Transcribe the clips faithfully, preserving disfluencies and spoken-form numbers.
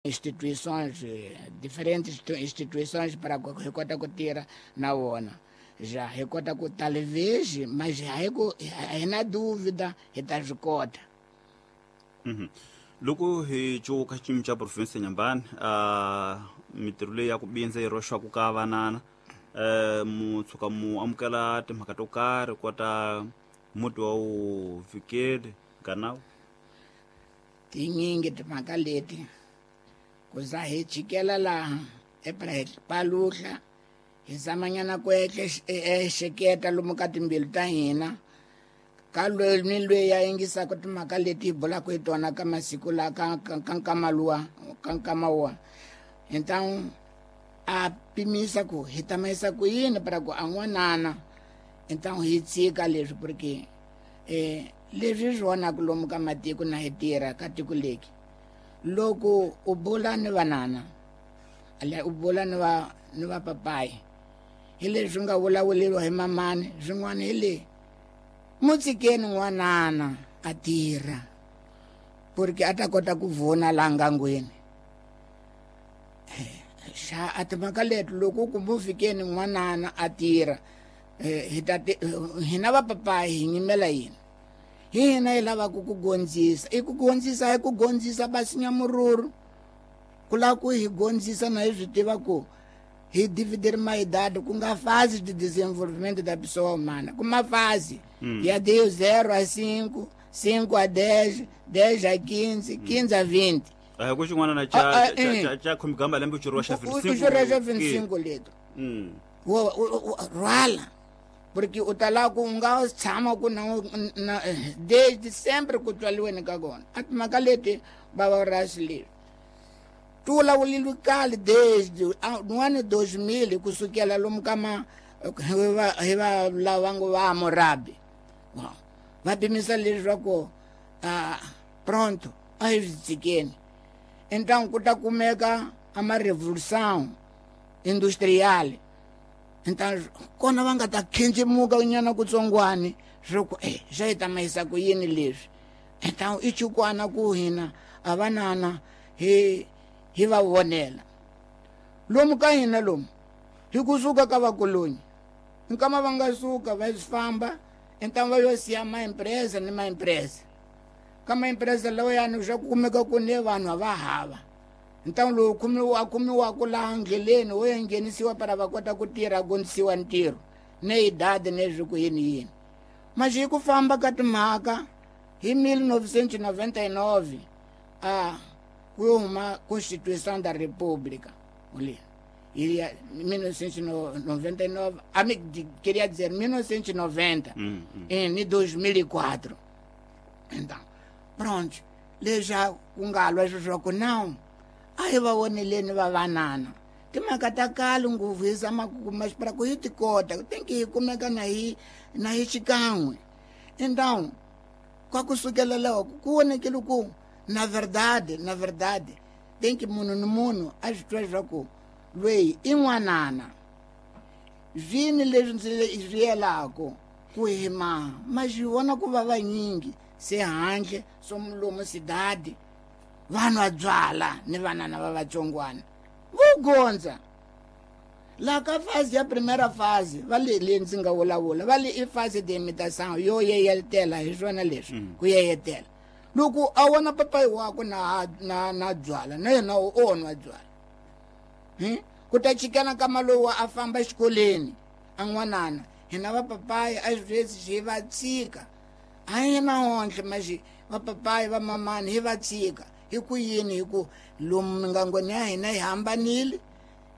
Instituições, diferentes instituições para hi kota ku tirha na vona. Já hi kota ku talvez, mas hi ku hi na dúvida hi ta swi kota. Mhm. Loko hi cuka xiyimo xa province Nyambani, a mitirho leyi ya ku bindza yi roxwaku ka vanana, eh mu tshuka mu amukela timhaka to karhi kota muti wa wu fikeli ganawu? Tinyingi timhaka leti ku za hi chikela laha epra hi paluhla hi zamanyana ku ehleketa lomu ka timbilu ta hina ka loyi ni loyi ya yingisaka timhaka leti hi bulaka hi tona ka masiku la ka ka nkama luwa ka nkama wa. Então a pimisa ku hi ta mayisa ku yini para ku a n'wanana. Então hi tshika leswi porque eh leswi swi vonaka lomu ka matiko na hi tirha ka tiko leki. Loko u bula ni vanana, ale u bula ni va ni va papayi, hi leswi nga vulavuleriwa hi mamani, swin'wana hi le mutshikeni n'wanana a tirha porque a ta kota ku vona laha ngangweni. Xa a timhaka leti loko ku mu fikeni n'wanana a tirha, hi ta hina va papayi hi nyimela yini? Hi hina hi lavaka ku gondzisa. I ku gondzisa hi ku gondzisa basinya mururu. Ku lava ku hi gondzisa na hi swi tiva ku hi dividir uma idade ku nga fase de desenvolvimento da pessoa humana, ku ma fase ya de zero a cinco, cinco a dez, dez a quinze, quinze a vinte. A ku xin'wana na cha cha cha khomigamba lembe u xuriwa xa vinte e cinco. U xuriwa xa vinte e cinco leto. Wo rhwala porque u ta lava ku u nga tshama ku na na desde sempre ku tswaliweni ka kona. A timhaka leti va va rasi leswi ti vulavulile kale desde no ano dois mil kusukela lomu ka ma hi va hi va lava ngo va Hammurabi. Va pimisa leswaku a pronto a hi swi tshikeni. Então ku ta kumeka a ma revolução industrial. Então kona va nga ta khencemuka nyana kutsongwani swo ku eh xa hi ta mayisa ku yini leswi. Então i chukwana ku hina a vanana hi hi va vonela lomu ka hina lomu hi kusuka ka vakolonyi nkama va nga suka va famba. Então va yo siya ma empresa ni ma empresa ka ma empresa lawa yani swa ku kumeka ku ne vanhu va hava. Então lowu kumiwa kumiwa ku laha ndleleni wo ya nghenisiwa para va kota ku tirha gondzisiwa ntirho ne idade ne swi ku yini yini. Mas hi ku famba ka timhaka hi mil novecentos e noventa e nove a ku huma Constituição da República ali iria mil novecentos e noventa e nove, a me queria dizer mil novecentos e noventa, mm, mm. em dois mil e quatro. Então pronto, le já ku nga lwa swo ku não a hi va voneleni va vanana timhaka ta kale ngopfu hi zama ku kuma para ku hi ti kota tem que hi kumeka na hi na hi xikan'we. Então kwa kusukela loko ku vonekile ku na verdade na verdade tem que munhu ni munhu a swi twa leswaku loyi i n'wanana zvini leswi ndzi swi yelaka ku hi maha ma swi vona ku va vanyingi se handle swo lomu sidadi vanhu va byala ni vanana va vatsongwana vo gondza la ka fase ya primeira fase va le le ndzi nga vulavula va le i fase de imitação yo yeyetela hi swona leswi ku yeyetela loko a vona papayi wakwe na na na byala na yena o nwa byala hi ku ta chikana ka malowa a famba exikolweni a n'wanana hina va papayi a swi hi va tshika a hi na onhle maxi va papayi va mamani hi va tshika hi ku yini hi ku lomu mingangweni ya hina hi hambanile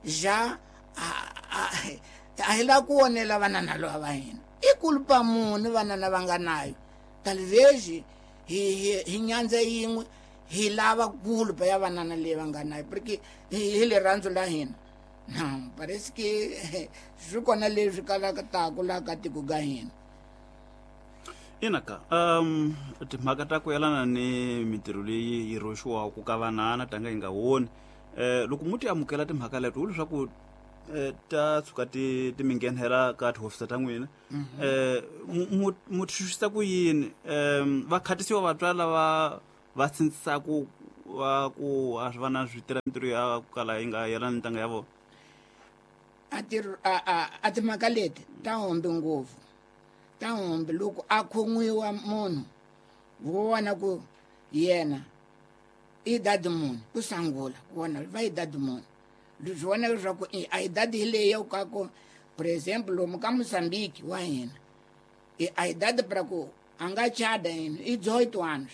ja a hi lava ku onela vanana lava va hina i kulupa muni vanana va nga nayo talvez hi hi hi nyandza yin'we hi lava kulupa ya vanana leyi va nga nayo porque hi rirhandzu la hina. Não, parece que swi kona leswi kalaka taku laha ka tiko ka hina. Ina ka um timhaka ta ku yelana ni mintirho leyi yi roxiwaka ka vanana tanga yi nga woni eh loko mu ti amukela timhaka leto wu leswaku ta tshuka ti ti mi nghenela ka tihofisi ta n'wina eh mu mu twisisa ku yini um va khatisiwa vatswari lava va sindzisaku wa ku a swi va na swi tirha mintirho ya ku kala yi nga yelani ntanga ya vona a ti a a a timhaka leti ta hombi ngopfu ta hombi loko a khomiwa munhu vo vona ku yena i idade munhu ku sangula ku vona va idade munhu swi vona leswaku a idade hi leyi ya ka ku por exemplo lomu ka Moçambique wa hina a idade para ku a nga chada yini i dezoito anos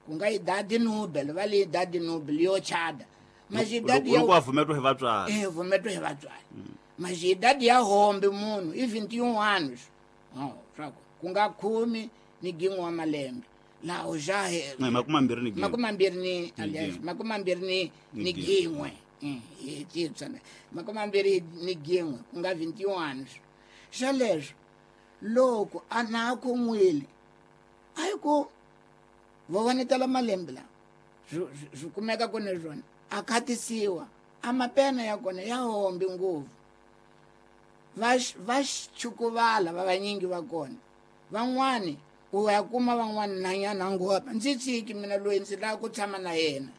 ku nga idade nobel va le idade nobel yo chada mas idade ya loko a vumetwa hi vatswari eh vumetwa hi vatswari mas idade ya hombe munhu i vinte e um anos oh swa ku nga khume ni gin'we wa malembe laha já makume mambirhi ni gin'we makume mambirhi ni aliás makume mambirhi ni ni gin'we hi titsana makume mambirhi ni gin'we ku nga vinte e um anos xa leswo loko a na khomwile a yi ku vo vonetela malembe lawa swi kumeka ku ni swona a khatisiwa a mapena ya kona ya hombi ngopfu va va chukuvala va vanyingi va kona van'wani u ya kuma van'wani nanyana ngopfu ndzi tshiki mina loyi ndzi lava ku tshama na yena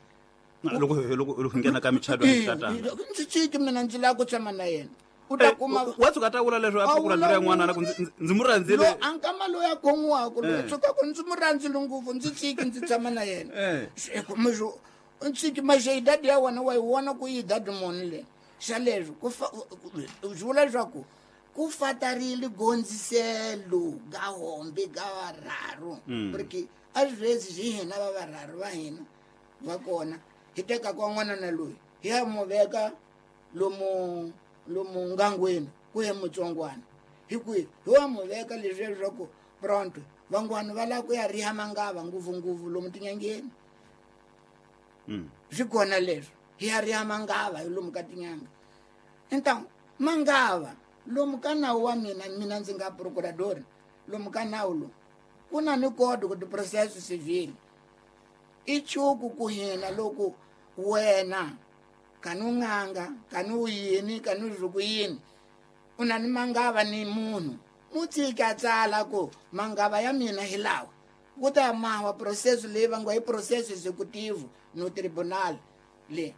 loko loko loko nghena ka michato ya tatana ndzi tshiki mina ndzi lava ku tshama na yena u ta kuma wa tshuka ta vula leswo a ku rhandzela n'wana na ku ndzi mu rhandzile lo a nkama loyi a khomiwaka loyi tshuka ku ndzi mu rhandzile ngopfu ndzi tshiki ndzi tshama na yena ndzi tshiki maxe idadi ya wena wa yi vona ku yi idadi muni le xa leswo ku swi vula leswaku ku fatarile gondziselo ga hombe ga varharu porque às vezes hi hina va varharu va hina va kona hi teka kwa n'wana na loyi hi ya mu veka lomu lomu ngangweni ku ye mutsongwana hi kwihi hi wa mu veka leswi leswaku pronto van'wana va lava ku ya riha mangava ngopfungopfu lomu tinyangeni swi kona leswo hi ya riha mangava hi lomu ka tinyanga então mangava lomu ka nawu wa mina mina ndzi nga procurador lomu ka nawu lowu ku na ni código de processo civil i chuku ku hina loko wena kani u n'anga kani u yini kani u ku yini u na ni mangava ni munhu mu tshiki a tsala ku mangava ya mina hi lawa ku ta mawa processo leyi va ngo i processo executivo no tribunal le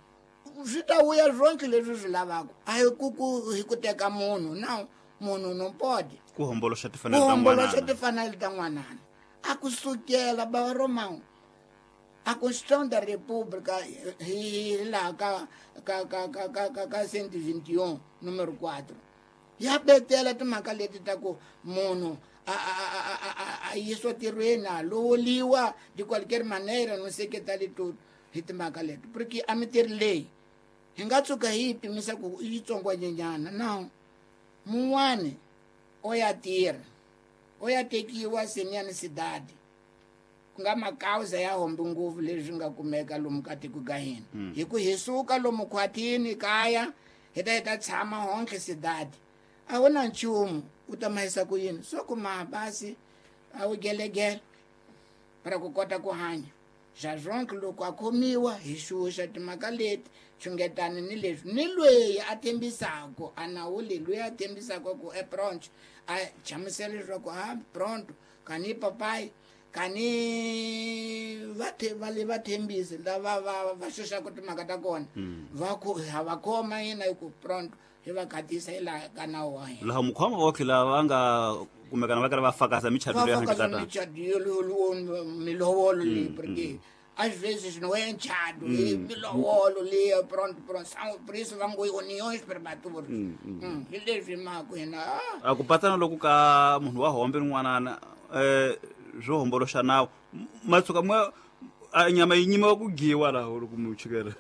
swi ta vuya swonke leswi swi lavaka a hi ku ku hi ku teka munhu na munhu no pode ku homboloxa timfanelo ta homboloxa timfanelo ta n'wanana a ku sukela ba Romão a Constituição da República hi laha ka ka ka ka ka ka ka cento e vinte e um número quatro ya betela timhaka leti ta ku munhu a a a a a yisiwa ntirhweni a lovoliwa de qualquer maneira não sei que tal e tudo hi timhaka leti porque a mintirho leyi hi nga tshuka hi yi pimisa ku i yitsongwanyenyana no mun'wani o ya tirha o ya tekiwa seniyani cidade ku nga makauza ya hombi ngopfu leswi nga kumeka lomu ka tiko ka hina hi ku hi suka lomu khwatini kaya hi ta hi ta tshama honke cidade a wu na nchumu u ta mahisa ku yini swo ku mabasi a wu gelegele para ku kota ku hanya xa swonke loko a khomiwa hi xuxa timhaka leti xungetani ni leswi ni loyi a tembisaka a nawu leyi loyi a tembisaka ku e pronto a chamusela leswaku a pronto kani papai kani va va le va thembisi lava va va xuxaka timhaka ta kona va ku ha va khoma yina hi ku pronto hi va khatisa hi laha ka nawu wa hina laha mukhoma wa tlhela va nga kumekana va karhi va fakaza michato leyi va fakaza michato yo milovolo leyi porque às vezes não é enchado e milovolo leyi pronto pronto são por isso va ngo uniões prematuras hi leswi mhaka hina a ku patsana loko ka munhu wa hombe rin'wanana eh swo homboloxa nawu ma tshuka ma nyama yi nyimiwa ku giwa laha loko mu chukela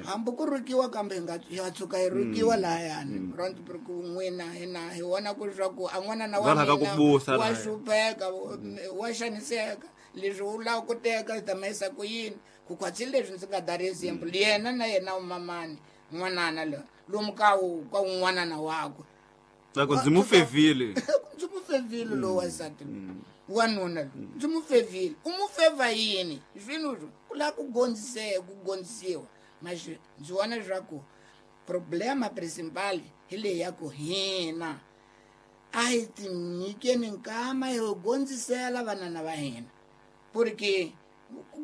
hambi ku rukiwa kambe hi nga ya tshuka yi rukiwa lahayani pronto porque n'wina hina hi vona ku leswaku a n'wanana wa mina wa hlupheka wa xaniseka leswi u lava ku teka hi ta mahisa ku yini ku khwatsi leswi ndzi nga dari example yena na yena umamani n'wanana loyi lomu ka ka un'wanana wakwe loko ndzi mu fevile ndzi mu fevile lowu wansati wanuna loyi ndzi mu fevile u mu feva yini swilo ku lava ku gondziseka ku gondzisiwa mas ndzi vona leswaku problema principal hi leyi ya ku hina a hi tinyikeni nkama hi gondzisela vanana va hina porque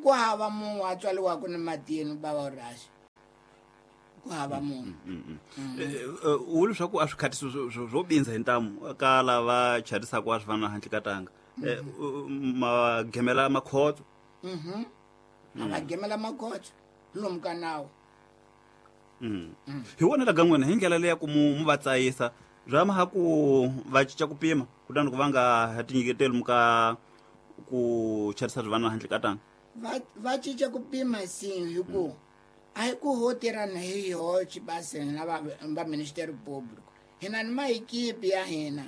Ku hava munhu a tswaliwaka ni matini bava Horacio. Ku hava munhu. U leswaku a swi khatisi swo bindza hi ntamu ka lava charisaka a swi fana handle ka tanga. Ma gemela makhotso. Mhm. A gemela makhotso lomu ka nawu. Mhm. Hi wona la gan'wena hi ndlela leya ku mu va tsayisa bya ma ha ku va cinca ku pima kutani ku va nga ha tinyiketeli muka ku charisa swi handle ka tanga. Va va cinca ku pima sim hi ku a hi ku ho tirhana hi yoxe basi na va va Ministério Público. Hina ni maequipe ya hina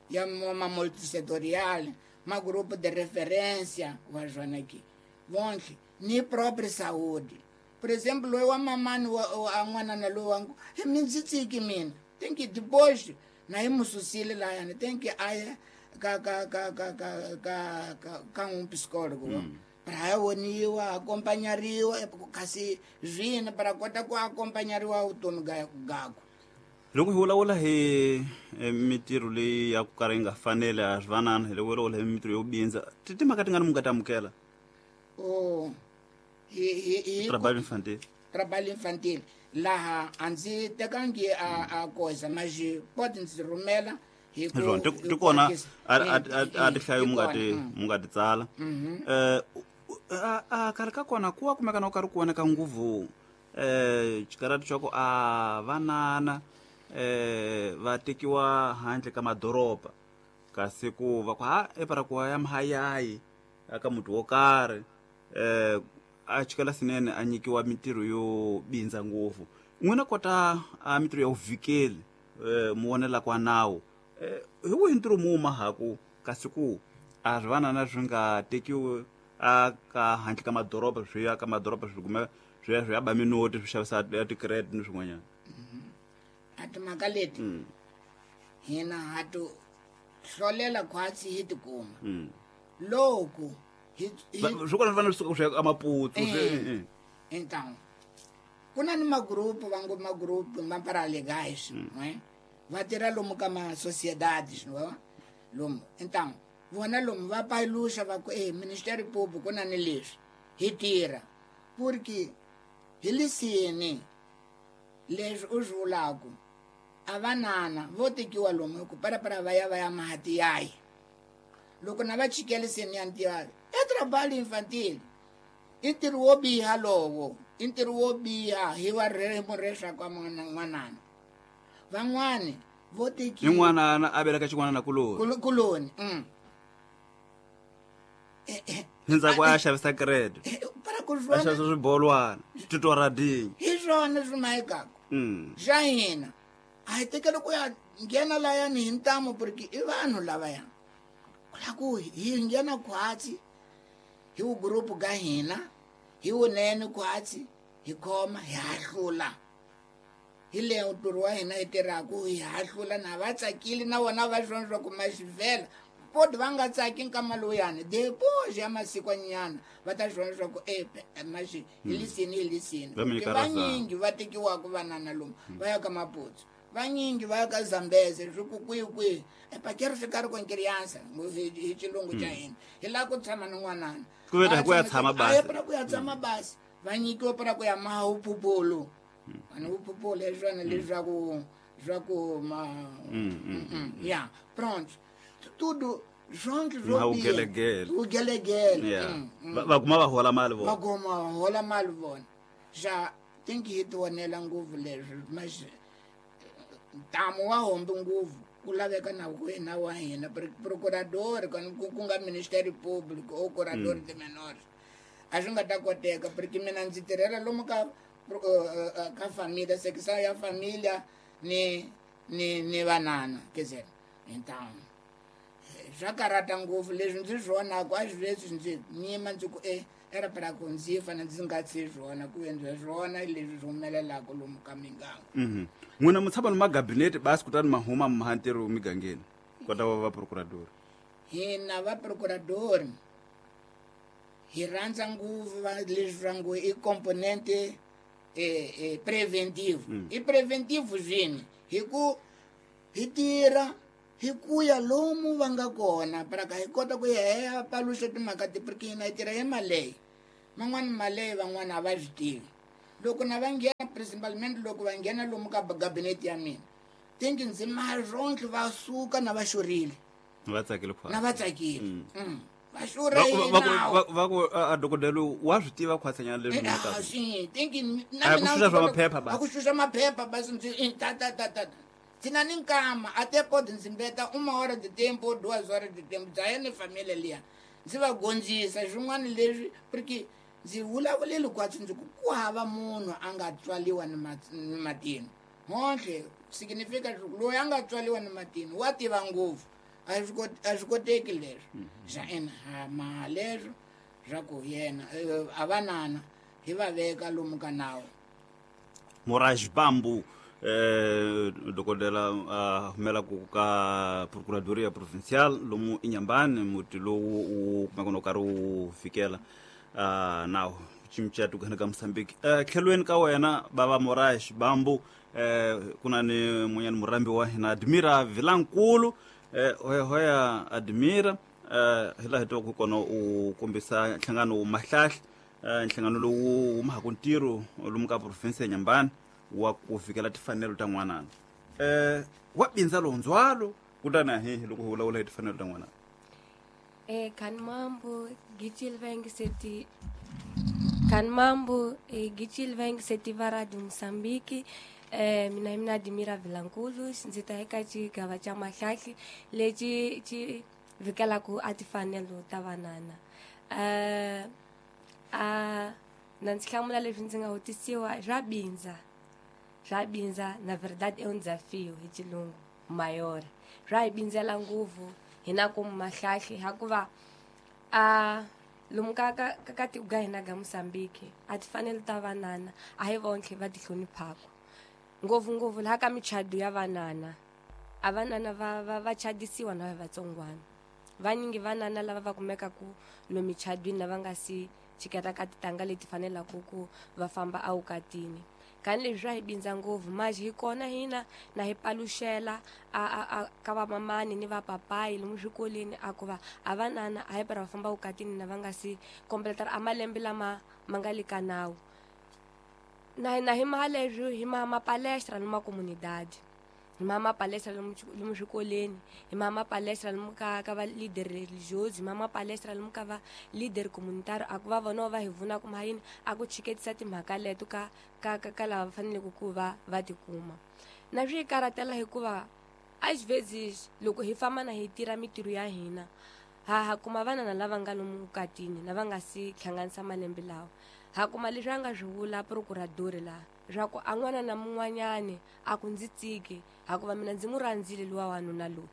ya ma multissetorial, ma grupo de referência wa swona ki. Vonke ni própria saúde. Por exemplo, loyi wa mamani wa n'wanana loyi wa hi mi ndzi tsiki mina. Tem que depois na hi mu susile layani tem que a ya ka ka ka ka ka ka ka ka um psicólogo. Mm. Para voniwa acompanhariwa kasi zvina para kota ku acompanhariwa vutomi ga gakwe. Loko hi vulavula hi mitirho leyi ya ku karhi yi nga faneli a swi vanana hi loko vulavula hi mitirho yo bindza ti timhaka ti nga ni mu nga ta amukela. Oh hi hi hi trabalho infantil. Trabalho infantil laha a ndzi tekangi a a koza mas pode ndzi rhumela hi ku ti kona a tihlayo mu nga ti mu nga ti tsala. Eh a karhi ka kona ku wa kumeka na ku karhi ku voneka nguvu eh xikarati xa ku a vanana eh va tekiwa handle ka madoroba kasi ku va ku ha epara ku ya mhayayi aka muti wo karhi eh a chikela sinene a nyikiwa mitirho yo bindza ngopfu. N'wina kota a mitirho ya vuvikeli eh mu vonela kwa nawu eh hi wihi ntirho mu mahaku kasi ku a swi vanana swi nga tekiwi a ka handle ka madoroba swi ya ka madoroba swi kume swi ya swi ya ba minoti swi xavisa ti-credit ni swin'wanyana. A timhaka leti hina ha to hlolela khwatsi hi tikuma loko hi swi kona swi fanele swi suka swi ya ka Maputo swi então ku na ni magrupu va ngo magrupu ma paralegais não é va tirha lomu ka ma sociedades não é lomu então vona lomu va paluxa va ku eh Ministério Público ku na ni leswi hi tirha porque hi lisini leswi u swi vulaku a vanana vo tekiwa lomu hi ku parapara va ya va ya mahatiyayi loko na va chikeliseni ya ntirho e trabalho infantil i ntirho wo biha lowo i ntirho wo biha hi wa ririmi leswaku n'wanana van'wani vo tekiwa ni n'wanana a veleka xin'wana na kuloni kuloni mm. Ndzhaku a xavisa credit para ku a xavisa swibolwana titoradinyi hi swona swi mayikaka xa hina a hi tekeli ku ya nghena layani hi ntamu porque i vanhu lavaya ku la ku hi nghena khwatsi hi vugurupu ka hina hi vunene khwatsi hi khoma hi hahlula hi leyo ntirho wa hina hi tirhaku hi hahlula na va tsakile na vona va swona swa ku maxivhela podi va nga tsaki nkama lowuyani depois ya masikwanyana va ta swona swa ku e maxi hi lisini hi lisini vanyingi va tekiwaka vanana lomu va ya ka Maputo vanyingi va ya ka Zambeze swi ku kwihi kwihi epa quero ficar com criança hi xilungu xa hina hi lava ku tshama ni n'wanana ku veta ku ya tshama basi para ku ya tshama basi va nyikiwa para ku ya maha vuphuphulu vanhu vuphuphulu hi swona leswaku swa ku ma ya pronto tudo zonke zwo ugelegele ugelegele va kuma va hola mali vona va kuma va hola mali vona xa think hi tivonela ngopfu leswi mas ntamu wa hombi ngopfu ku laveka na wena wa hina procurador ku nga Ministério Público ou curador de menores a swi nga ta koteka porque mina ndzi tirhela lomu ka ka família secção ya família ni ni ni vanana quer dizer então swa karhata ngopfu leswi ndzi swi vonaka a swi leswi ndzi nyima ndzi ku e era para ku ndzi fana ndzi nga tshi swona ku endla swona leswi swi humelelaka lomu ka miganga. N'wina mu tshama ni magabinete basi kutani ma huma ma ntirho migangeni kota va va procurador. Hina va procurador hi rhandza ngopfu va leswi swa ngo i componente eh, eh, preventive. Mm. I preventive swini hi ku hi tirha hi ku ya lomu va nga kona para ka hi kota ku ya hi ya paluxa timhaka ti porque hina hi tirha hi mali leyi. Man'wani maleyi van'wana a va swi tivi. Loko na va nghena principalmente loko va nghena lomu ka gabinete ya mina tinki ndzi marontlhe va suka na va xurile. Va tsakile khwatsi. Na va tsakile. Mm. Va xurha hi nawu. Va ku a dokodela wa swi tiva khwatsanyana leswi mi ta. Swi tinki na mina ku xuxa maphepha ba. Ku xuxa maphepha basi ndzi ta ta ta ta. Tina ni nkama até pode ndzi mbeta uma hora de tempo duas horas de tempo dzaye ni família liya. Ndzi va gondzisa swin'wana leswi porque ndzi vulavulile kwatsi ndzi ku ku hava munhu a nga tswaliwa ni matini. Honhle significa loyi a nga tswaliwa ni matini wa tiva ngopfu. A swi koteki leswo. Xa ina ha ma leswo swa ku yena a vanana hi va veka lomu ka nawu. Moraes Bambu eh dokodela a humela ku ka Procuradoria Provincial lomu Inhambane muti lowu u kumeka no karhi wu fikela a nawu chimchatu kana ka Mozambique. Eh tlhelweni ka wena baba Moraes Bambu eh kuna ni munyani murambi wa hina Admira Vilankulu. Eh hoya hoya Admira eh hi laha hi twaka kona u kombisa nhlangano wa Mahlahla eh nhlangano lowu wu mahaka ntirho lomu ka province ya Inhambane wa ku fikela tifanelo ta n'wanana. Eh wa bindza londzwalo kutani hi loko hi vulavula hi tifanelo ta n'wanana. Eh kan mambo gichil veng seti kan mambo eh gichil veng seti vara de Mozambique. Eh mina mina Admira Vilankulu ndzi ta eka xigava xa Mahlahla lexi xi vikelaka a tifanelo ta vanana. Eh a na ndzi hlamula leswi ndzi nga vutisiwa swa bindza. Swa bindza na verdade é um desafio hi xilungu maior. Swa hi bindzela ngopfu hina ku Mahlahla hikuva a lomu ka ka ka tiko ga hina ga Mozambique a tifanelo ta vanana a hi vontlhe va ti hloniphaka. Ngopfu ngopfu laha ka michado ya vanana a vanana va va va chadisiwa na vatsongwana. Vanyingi vanana lava va kumekaku lomu michadwini lava nga si chiketa ka titanga leti fanelaka ku va famba awukatini. Kani leswi swa hi bindza ngopfu manje hi kona hina na hi paluxela a a ka vamamani ni vapapayi lomu swikolweni a ku va a vanana a hi para va famba wukatini na va nga si kompletara a malembe lama ma nga le ka nawu. Na na hi maha leswi hi maha mapalestra lomu comunidade. Hi maha mapalestra lomu lomu swikolweni, hi maha mapalestra lomu ka ka va leader religioso, hi maha mapalestra lomu ka va leader communitario a ku va vona va hi vuna ku mahayini a ku chiketisa timhaka leto ka ka ka ka lava faneleke ku va va tikuma. Na swi karatela hikuva às vezes loko hi famba na hi tirha mitirho ya hina ha ha kuma vanana lava nga lomu vukatini lava nga si hlanganisa malembe lawa. Ha kuma leswi a nga swi vula procurador laha swa ku a n'wana na mun'wanyani a ku ndzi tsiki hikuva mina ndzi n'wi rhandzile luwa wanuna loyi.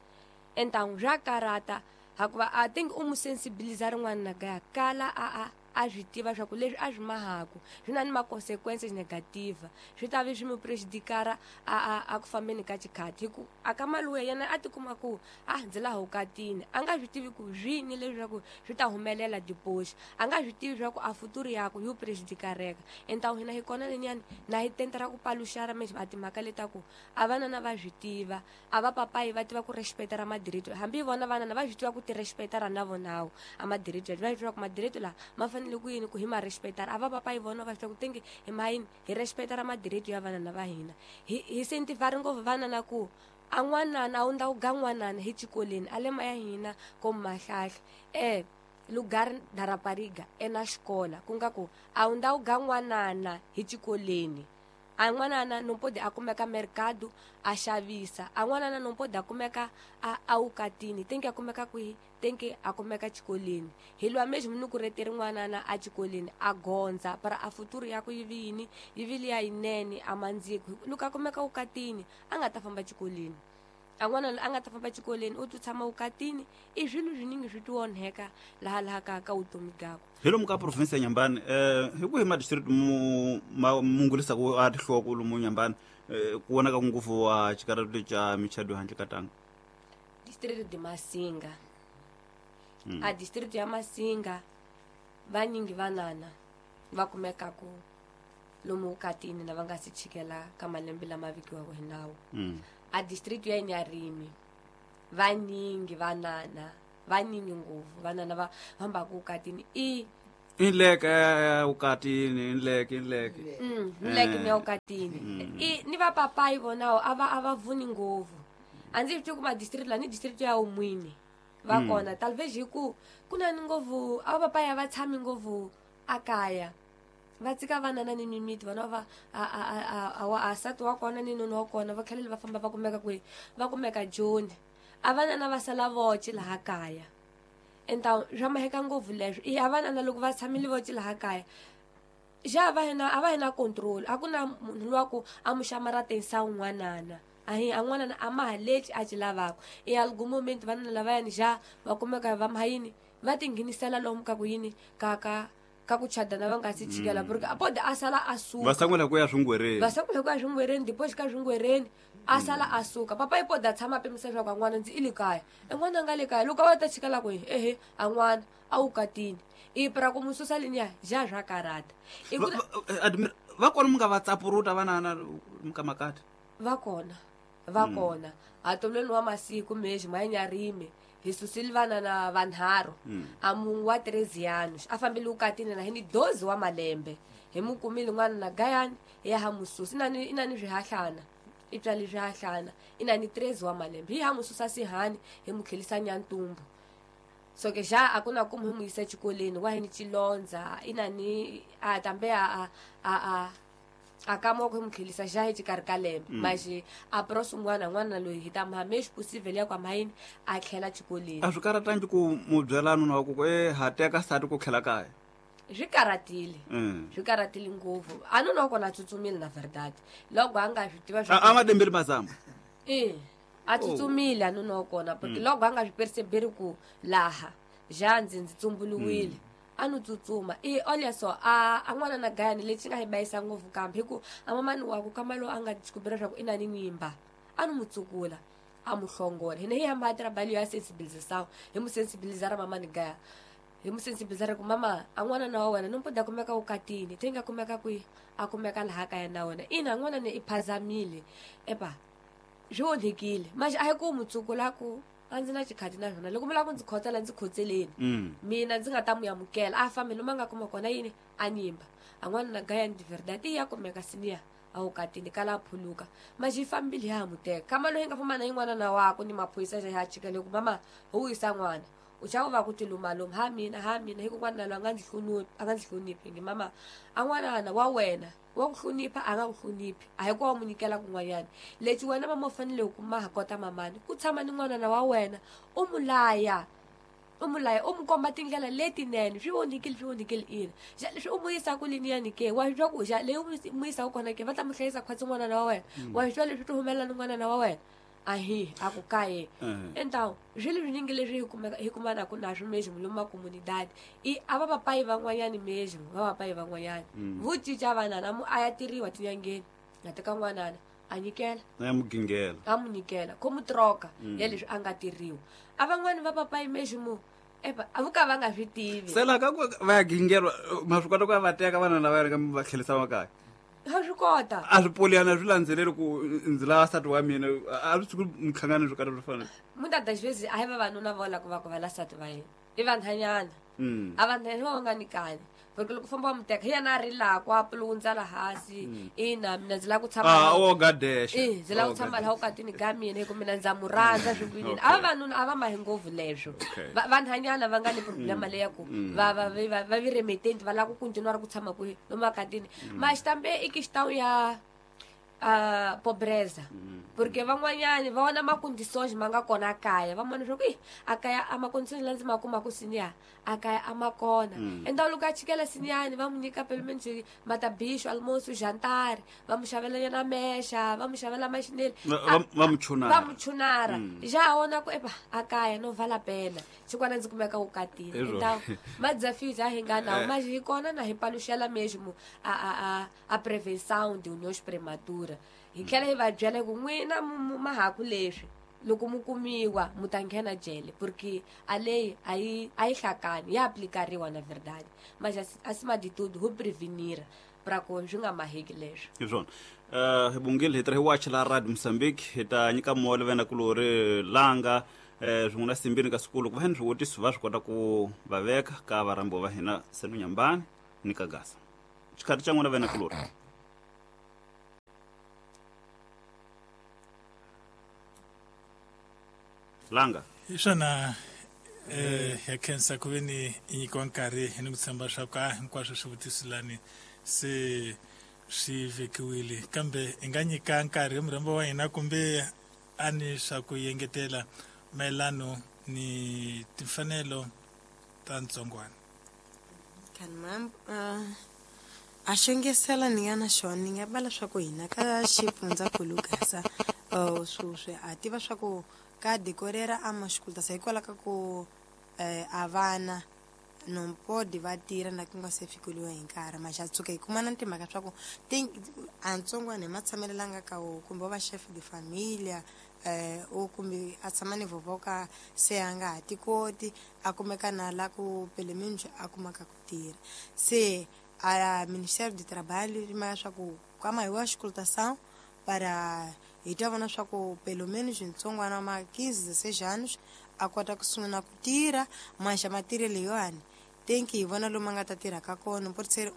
Entangu swa karata hikuva a think u mu sensibiliza rin'wana na gaya kala a a a swi tiva swa ku leswi a swi mahaku swi na ni ma-consequences negative swi ta vi swi mu prejudikara a a a ku fambeni ka xikhati hi ku a ka maluya yena a tikuma ku a ndzi laha vukatini a nga swi tivi ku swini leswaku swi ta humelela depois a nga swi tivi swa ku a futuru yaku yi prejudikareka. Entangu hina hi kona leniyani na hi tenta ra ku paluxara mesmo a timhaka letaku a vanana va swi tiva a va papayi va tiva ku respecta ra madirito hambi vona vanana va swi tiva ku ti respecta ra na vonawo a madirito va swi tiva ku madirito la ma fanele ku yini ku hi ma respectar a va papayi vona va swi tiva ku tingi hi mayini hi respecta ra madirito ya vanana va hina hi hi sentivari ngopfu vanana ku a n'wanana a wu ndla ku ga n'wanana hi xikolweni a le maya hina ko Mahlahla eh lugar da rapariga ena xikola ku nga ku a wu ndla ku ga n'wanana hi xikolweni a n'wanana no pode a kumeka mercado a xavisa a n'wanana no pode a kumeka a a wukatini tenke a kumeka kwihi tenke a kumeka xikolweni hi lwa mesmo ni ku reteri n'wanana a xikolweni a gondza para a futuro ya ku yi vi yini yi vi liya yinene a mandziko loko a kumeka wukatini a nga ta famba xikolweni a n'wana a nga ta famba xikolweni u ti tshama wukatini i swilo swiningi swi ti onheka laha laha ka ka vutomi byakwe. Hi lomu ka province ya Inhambane eh hi ku hi ma district mu mungulisa ku a tihloko lomu Inhambane ku vonaka ngopfu wa xikaratu xa michado handle ka tanga district de Masinga. Mm. A district ya Masinga vanyingi vanana va kumeka ku lomu vukatini lava nga si chikela ka malembe lama vikiwaka hi nawu. Mm. A district ya Inharime vanyingi vanana vanyingi ngopfu vanana va fambaka vukatini i Inleke ukatini inleke inleke mm inleke ni ukatini i ni va papai vona a va a va vuni ngopfu a ndzi swi kuma district la ni district ya umwini va kona talvez hi ku ku na ni ngopfu a va papai a va tshami ngopfu akaya va tsika vanana ni mimiti vona va a a a a asati wa kona ni noni wa kona va tlhela va famba va kumeka kwihi va kumeka Joni a vanana va sala voce laha kaya então swa maheka ngopfu leswo i a vanana loko va tshamile voce laha kaya ja va hina a va hina control a ku na munhu loyi ku a mu xamaratisa un'wanana ahi a n'wanana a ma ha lexi a xi lavaka i algum momento vanana lavayani ja va kumeka va mahayini va tinghenisela lomu ka ku yini ka ka ka ku chadana va nga si chikela porque a pode a sala a suka va sangula ku ya swingwereni va sangula ku ya swingwereni depois ka swingwereni a sala a suka papa i pode a tshama pimisa swa ka n'wana ndzi i le kaya e n'wana a nga le kaya loko a va ta chikela kwihi ehe a n'wana a wu katini i pra ku mu susa liniya ja swa karata i ku va kona mi nga va tsapuruta vanana mi ka makati va kona va kona a tolweni wa masiku mexi mayanyarime hi susile vanana vanharhu a munhu wa treze anos a fambile ukatini na hi ni doze wa malembe hi mu kumile n'wana na gayani ya ha mususa inani inani swihahlana i tswale swihahlana inani treze wa malembe hi ha mususa sihani hi mu tlhelisa nyantumbu so ke ja a ku na ku mu mu yisa exikolweni wa hi ni chilondza inani a tambe a a a a kama ku mu tlhelisa ja hi xikarhi ka lembe maxi a prosi n'wana n'wana loyi hi ta mhamexi possible ya kwa mahayini a tlhela xikolweni a swi karatangi ku mu byela nuna wa ku ku e ha teka sati ku tlhela kaya swi karatile swi karatile ngopfu a nuna wa kona a tsutsumile na verdade loko a nga swi tiva a ma dembeli mazamba e a tsutsumile a nuna wa kona porque loko a nga swi perceberi ku laha ja ndzi ndzi tsumbuluwile a no tsutsuma i olha só a a n'wana na gayani lexi nga hi bayisa ngopfu kambe hi ku a mamani wa ku kama lowu a nga descobrir leswaku i na ni nyimba a no mu tsukula a mu hlongola hina hi hamba trabalho ya sensibilização hi mu sensibilizar mamani gaya hi mu sensibilizar ku mama a n'wana na wa wena no poda kumeka ukatini te nga kumeka kwihi a kumeka laha kaya na wena ina n'wana ni i phazamile epa swi onhekile manje a hi ku mu tsukula ku a ndzi na xikhati na swona loko mi lava ku ndzi khotsela ndzi khotseleni mina ndzi nga ta mu amukela a fambi lomu a nga kuma kona yini a nyimba a n'wana na gayani de verdade ya kumeka siniya a wu katini kala a phuluka manje yi fambile ya ha mu teka kama loyi nga famba na yin'wana na wako ni maphorisa ya chikele ku mama ho wisa n'wana u chava va ku tilumaluma ha mina ha mina hi ku n'wana loyi a nga ndzi hloniphi a nga ndzi hloniphi ngi mama a n'wanana wa wena wa ku hlonipha a nga ku hloniphi a hi ku wa mu nyikela kun'wanyana lexi wena mama u fanele ku ma ha kota mamani ku tshama ni n'wanana wa wena u mu laya u mu laya u mu komba tindlela letinene swi onhikile swi onhikile ina xa leswi u mu yisaka liniyani ke wa swi twa ku xa leyi u mu yisaka kona ke va ta mu hlayisa khwatsi n'wanana wa wena wa swi twa leswi ti humelela ni n'wanana wa wena ahi a ku kaye então swilo swinyingi leswi hi kumeka hi kumanaka na swo mesmo lomu makomunidade i a va papai van'wanyani mesmo va papai van'wanyani vo cinca vanana mu a ya tiriwa tinyangeni a teka n'wanana a nyikela a mu gingela a mu nyikela ko mu troka ya leswi a nga tiriwa a van'wani va papai mesmo epa a vo ka va nga swi tivi se laha ka ku va ya gingelwa ma swi kota ku ya va teka vanhu lava ya va tlhelisa makaya a swi kota a swi poliyana swi landzeleli ku ndzi lava nsati wa mina a swi tshuki minhlangano swo karhi swo fana muitas das vezes a hi vavanuna vo lava ku va ku va la nsati va yena i vanhanyana a vanhanyana va nga nyikani porque loko famba wa mu teka hi yena a rilaka a pulundza la hansi ina mina ndzi lava ku tshama a wo gadexa e ndzi lava ku tshama laha ukatini ka mina hi ku mina ndza mu rhandza swi ku yini a vavanuna a va mahi ngopfu leswo vanhanyana va nga ni problema leya ku va va va va vi remitente va lava ku continua ku tshama kwihi lomu akatini mas tambe i questão ya a pobreza porque van'wanyani va vona macondições ma nga kona kaya va vona leswaku a kaya a macondições la ndzi ma kumaka siniya a kaya a ma kona então loko a chikela siniyani va mu nyika pelo menos matabicho almoço jantar va mu xavela nyana mexa va mu xavela maxineli va mu chunara va mu chunara já vona ku epa a kaya no vala pena xikwana ndzi kumeka ukatini então ma desafios a hi nga nawo mas hi kona na hi paluxela mesmo a a a a prevenção de uniões prematuras hi tlhela hi va byela ku n'wina mahaku leswi loko mu kumiwa mu ta nghena jele porque a lei a yi a yi hlakani ya aplicariwa na verdade mas acima de tudo ho prevenir pra ku swi nga maheki leswo hi swona uh, hi bungile hi tirhi wachi la Radio Mozambique hi ta nyika moya vena kulori langa eh swin'wana simbini ka swikulu ku va ni swivutiso va swi kota ku va veka ka varambo va hina Seno Nyambani ni ka Gasa. Xikhathi xa n'wina vena kulori. Langa. Hi swona eh ya khensa ku ve ni nyikiwa nkarhi hi ni ku tshemba swa ku a hinkwaswo swivutiso lani se swi vekiwile, kambe hi nga nyika nkarhi murhambo wa hina kumbe a ni swa ku yengetela mayelano ni timfanelo ta ntsongwana. Kan mam a xengesela ni nga na xona ni nga bala swa ku hina ka xifundzankulu Gaza sweswi a tiva swa ku ka decorera a mashikulta hikwalaho ka ku a vana não pode va tirha na ku nga se fikeliwa hi nkarhi maxa tshuka hi kuma na timhaka swa ku a ntsongwana hi matshamelo la nga ka wo kumbe wa va chef de familia eh o kumbe a tshama ni vovoka se a nga ha ti koti a kumeka na la ku pele minjo a kumaka ku tirha se a Ministério do Trabalho ma swa ku kama hi wa auscultação para hi ta vona swa ku pelo menos ntsongwana ma quinze dezesseis anos a kota ku sungula ku tirha maxa matirhelo yowani tem que hi vona lomu a nga ta tirha ka kona pode ser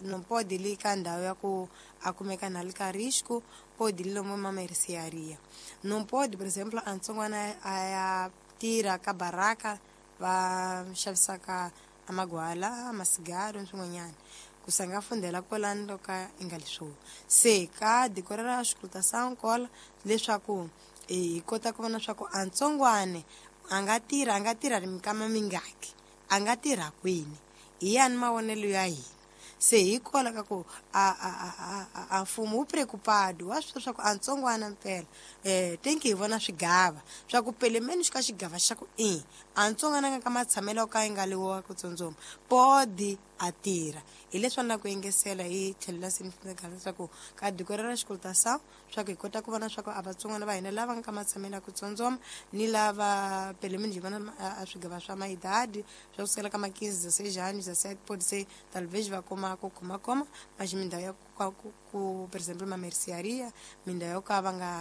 não pode li ka ndhawu ya ku a kumeka na li ka risco pode li lomu ma mercearia não pode por exemplo a ntsongwana a ya tirha ka baraka va xavisaka amagwala amasigaro swin'wanyana ku sanga fundela kwalano loko i nga leswo se ka decorera auscultação kola leswaku hi kota ku vona swa ku a ntsongwane a nga tirha a nga tirha mikama mingaki a nga tirha kwini hi yani mavonelo ya hina se hi kola ka ku a a a a mfumo wu preocupado wa swi swa ku a ntsongwana mpela eh tenki hi vona swigava swa ku pele menos ka xigava xa ku i a ntsongwana nga ka matshamelo ka yi nga liwa ku tsundzuma podi a tirha hi leswi na ku yengesela hi tlhelo la sinifika leswaku ka decorera auscultação swa ku hi kota ku vona swa ku a vatsongwana va hina lava nga ka matshamelo ya ku tsundzuma ni lava pele menos hi vona a swigava swa maidadi swa ku sukela ka ma quinze dezesseis anos dezessete pode ser talvez va kuma ku khomakhoma mas mindhawu ya ku ku por exemplo uma mercearia mindhawu yo ka va nga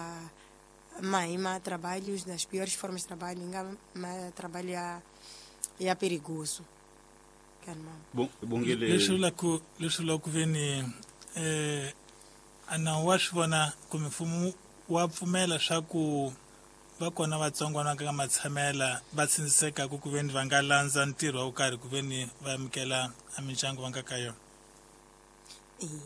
mahi ma trabalhos das piores formas de trabalho nga ma trabalho ya ya perigoso. Bom bongile leswi vula ku leswi vula ku ve ni eh a nawu wa swi vona kumbe mfumo wa pfumela swa ku va kona vatsongwana ka matshamela va tshindisekaku ku ve ni va nga landza ntirho wa ku karhi ku ve ni va amukela a mindyangu va nga ka yona.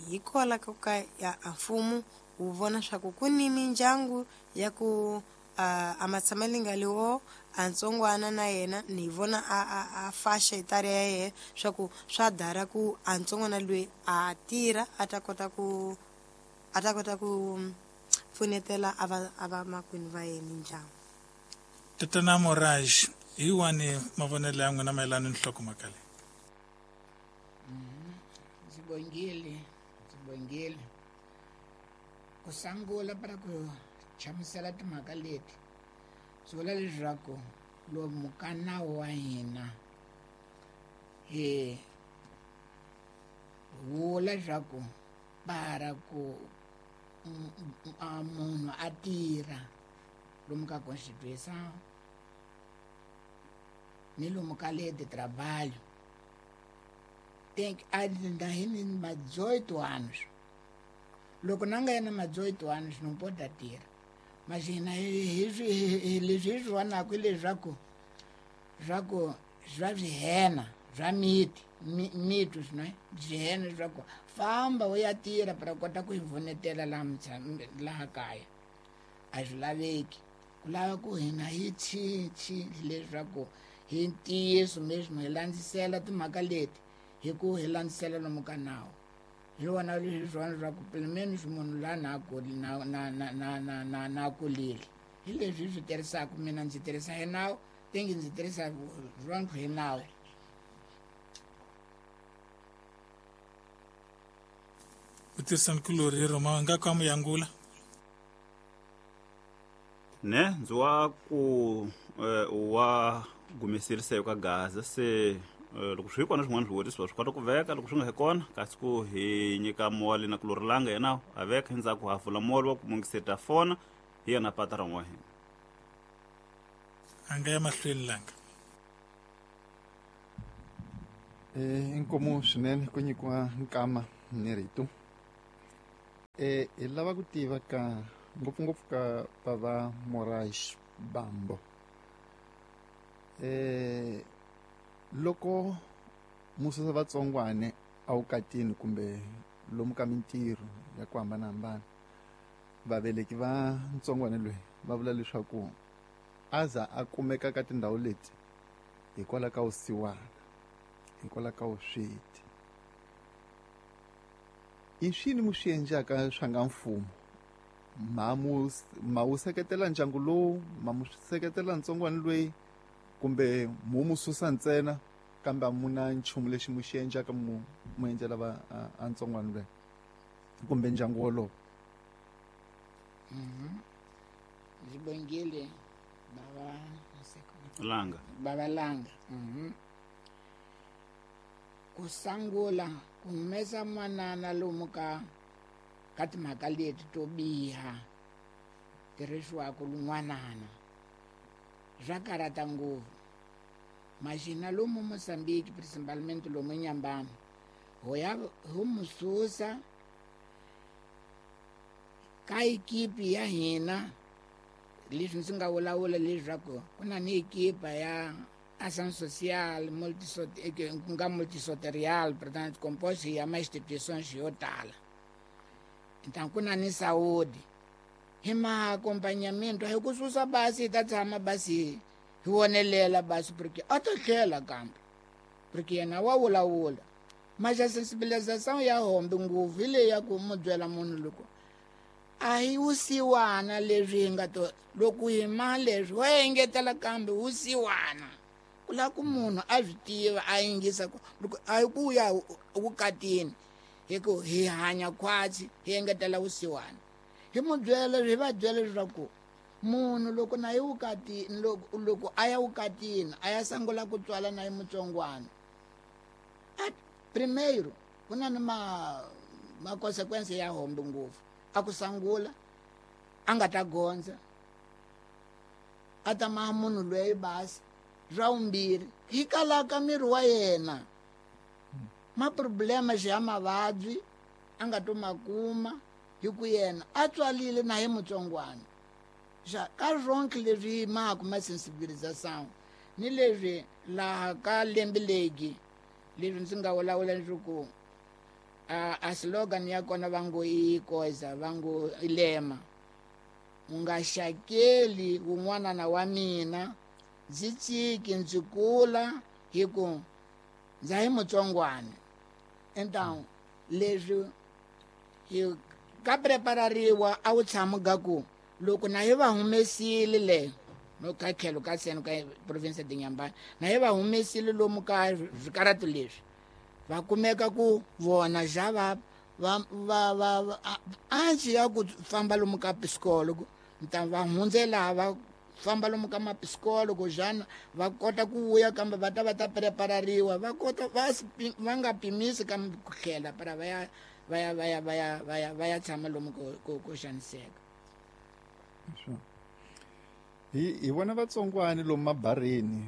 Hikwalaho ka ka ya a mfumo wu vona swa ku ku ni mindyangu ya ku a matshamelo nga liwo a ntsongwana na yena ni vona a a a faixa etária ya yena swa ku swa dara ku a ntsongwana loyi a tirha a ta kota ku a ta kota ku pfunetela a va a va makwenu va yena mindyangu. Tatana Moraj, hi wani mavonelo ya n'wina mayelana ni nhlokomhaka leyi? Ndzi bongile ndzi bongile ku sungula para ku hlamusela timhaka leti swi vula leswaku lomu ka nawu wa hina hi vula leswaku para ku munhu a tirha lomu ka Constituição ni lomu ka lei de trabalho tem que ainda hi ni ma dezoito anos. Loko na nga yena ma dezoito anos não pode tirha. Mas hina hi hi leswi hi swi vonaka hi leswaku swa ku swa swihena swa miti miti swinene swihena leswaku famba u ya tirha para kota ku hi pfunetela laha laha kaya a swi laveki ku lava ku hina hi cinci leswaku hi ntiyiso mesmo hi landzisela timhaka leti hi ku hi landzisela lomu ka nawu. Hi vona leswi swona swa ku pelo menos munhu la na na na na na na na na kulile hi leswi hi swi tirhisaka mina ndzi tirhisa hi nawu tengi ndzi tirhisa rona hi nawu. Vutisankulori hi Roma nga ka muyangula ne ndzi wa ku wa gumeserise ka Gaza se loko swi kona swin'wana swivutiso swi kota ku veka loko swi nga hi kona kasi ku hi nyika moli na ku lorilanga yena a veka endzhaku hafula moli wa ku mungiseta fona hi yena pata ra wa hina. A nga ya mahlweni langa. Eh inkomu swinene ku nyikiwa nkama ni rito. Eh hi lava ku tiva ka ngopfungopfu ka bava Moraes Bambo. Eh loko mususa vatsongwane awukatini kumbe lomu ka mintirho ya ku hambanahambana, vaveleki va ntsongwane loyi va vula leswaku aza a kumeka ka tindhawu leti hikwalaho ka vusiwana, hikwalaho ka vusweti. I swini mu swi endlaka swa nga mfumo? Ma mu ma wu seketela ndyangu lowu, ma mu seketela ntsongwana loyi, kumbe mu mu susa ntsena kambe a mu na nchumu lexi mu xi endlaka mu mu endlela va a ntsongwana loyi kumbe ndyangu wolowo? Mhm. Zibongile baba Langa. Baba Langa. Mhm. Kusangula ku humesa n'wanana lomu ka ka timhaka leti to biha tirhisiwaka lun'wanana swa karhata ngopfu. Maxina lomu Mozambique principalmente lomu Nyambani ho ya ho mu susa ka ekipi ya hina. Leswi ndzi nga vulavula leswaku ku na ni ekipa ya ação social ku nga multisoterial, portanto composto ya ma instituições yo tala. Então ku na ni saúde hi ma acompanhamento, hi ku susa basi hi ta tshama basi hi vonelela basi porque a ta tlhela kambe porque yena wa vulavula. Mas a sensibilização ya hombe ngopfu hi leyi ya ku mu byela munhu loko a hi wusiwana leswi hi nga to loko hi ma leswi wa engetela kambe wusiwana ku lava ku munhu a swi tiva a yingisa ku loko a hi ku ya vukatini hi ku hi hanya khwatsi hi engetela vusiwana. Hi mu byela hi va byela leswaku munhu loko na yi vukatini loko loko a ya vukatini a ya sungula ku tswala na yi mutsongwana a primeiro ku na ni ma ma consequence ya hombe ngopfu. A ku sangula a nga ta gondza a ta maha munhu loyi basi. Swa vumbirhi hi kalaka miri wa yena ma problema ya mavabyi a nga to ma kuma hi ku yena a tswalile na hi mutsongwana. Xa ka swonke leswi maku ma sensibilização ni leswi laha ka lembe legi leswi ndzi nga vulavula leswaku a a slogan ya kona va ngo i koza va ngo i lema u nga xakeli wun'wanana wa mina ndzi tsiki ndzi kula hi ku ndza hi mutsongwana. Então leswi hi ka preparariwa a wu tshami ga ku loko na hi va humesile le no ka tlhelo ka seno ka province de Inhambane na hi va humesile lomu ka swikaratu leswi va kumeka ku vona xa va va va va ansi ya ku famba lomu ka psikologo nta va hundzela va famba lomu ka mapsikologo xana va kota ku vuya kambe va ta va ta preparariwa va kota va va nga pimisi kambe ku tlhela para va ya va ya va ya va ya va ya va ya tshama lomu ku ku ku xaniseka. Hi hi vona vatsongwani lomu mabareni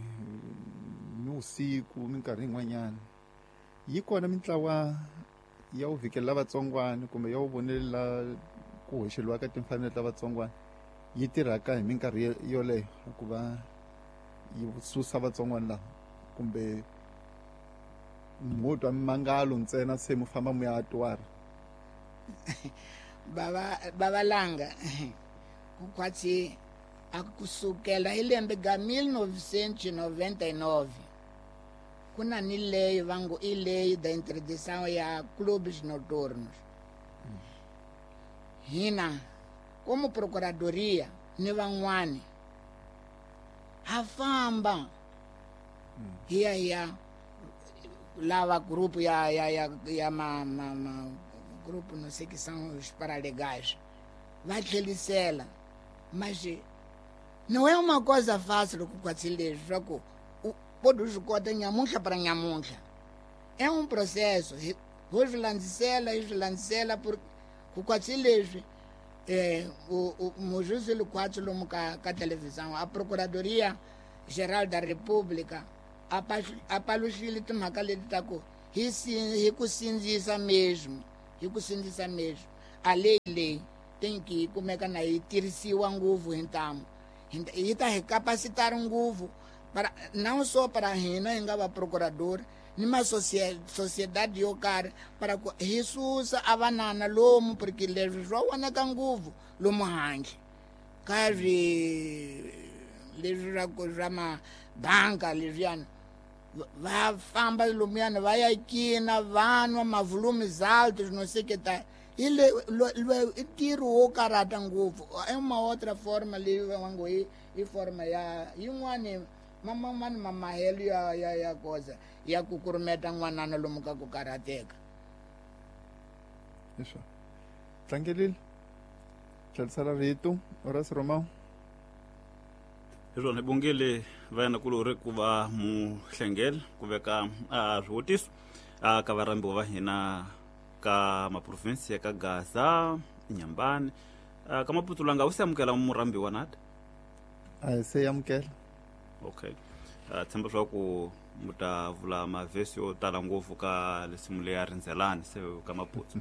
ni vusiku minkarhi yin'wanyana yi kona mintlawa ya wu vhikelela vatsongwani kumbe ya wu vonelela ku hoxeliwa ka timfanelo ta vatsongwani yi tirhaka hi minkarhi yoleyo ku va yi susa vatsongwani lava kumbe mo twa mimangalo ntsena se mu famba mu ya twara? Baba baba Langa ku khwatsi a kusukela hi lembe ga mil novecentos noventa e nove ku na ni lei va ngo i lei da interdição ya clubes noturnos. Hina como procuradoria ni van'wani ha famba hi ya hi ya lava grupo ya ya ya ya ma ma, ma grupo não sei que são os paralegais va tlhelisela. Mas não é uma coisa fácil ku khwatsi leswi swa ku pode swi kota nyamuntlha para nyamuntlha. É um processo ho swi landzisela hi swi landzisela ku khwatsi leswi eh o o mujuzelo khwatsi lomu ka ka televisão a procuradoria Geral da República a paluxile timhaka leti ta ku hi hi ku sindzisa mesmo hi ku sindzisa mesmo a lei leyi tem que kumeka na yi tirhisiwa ngopfu hi ntamu yi ta hi capacitar ngopfu para não só para hina hi nga va procurador ni ma sociedade yo karhi para ku hi susa a vanana lomu porque leswi swa vonaka ngopfu lomu handle ka swi leswi swa ku swa mabanka leswiyani va famba lomuyana va ya cina va nwa mavolumes altos não sei que tá i le i ntirho wo karhata ngopfu i uma outra forma leyi va ngo i i forma ya yin'wani man'wani mamahelo ya ya ya koza ya ku kurumeta n'wanana lomu ka ku karhateka leswo tlangelile tlherisela rito Horace Romão hi swona hi bongile vayana kulori ku va muhlengela ku veka a swivutiso a ka varhambiwa va hina ka maprovinsi ya ka Gaza Nyambani ka Maputo langa wu se amukela murhambiwa nada a hi se amukela okay uh, tshemba swa ku mu ta vula mavhesi yo tala ngopfu ka lesimu leya rindzelani se ka Maputo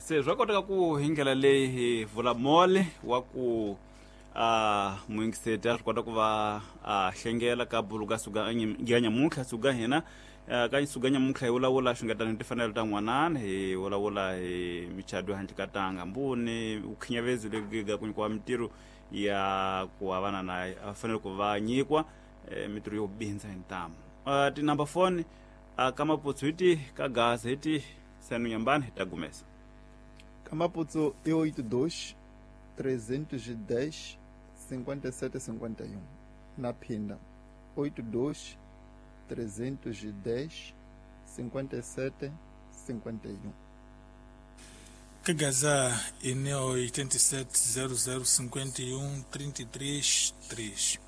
se swa koteka ku hi ndlela leyi hi vula mole wa ku a muyingiseti a swi kota ku va a hlengela ka buluka suka ya nyamuntlha suka hina ka suka nyamuntlha hi vulavula xungetano hi timfanelo ta n'wanana hi vulavula hi michado handle ka tanga mbuni vukhinyavezi lebyi ku nyikiwa mintirho ya ku va vana na a fanele ku va nyikiwa mintirho yo bindza hi ntamu tinumber phone ka Maputo hi ti ka Gaza hi ti Senu Nyambani hi ta gumesa ka Maputo i oito dois trezentos e dez cinquenta e sete cinquenta e um na Pinda oito dois trezentos e dez cinquenta e sete cinquenta e um Ka Gaza ine oitenta e sete zero zero cinquenta e um trinta e três três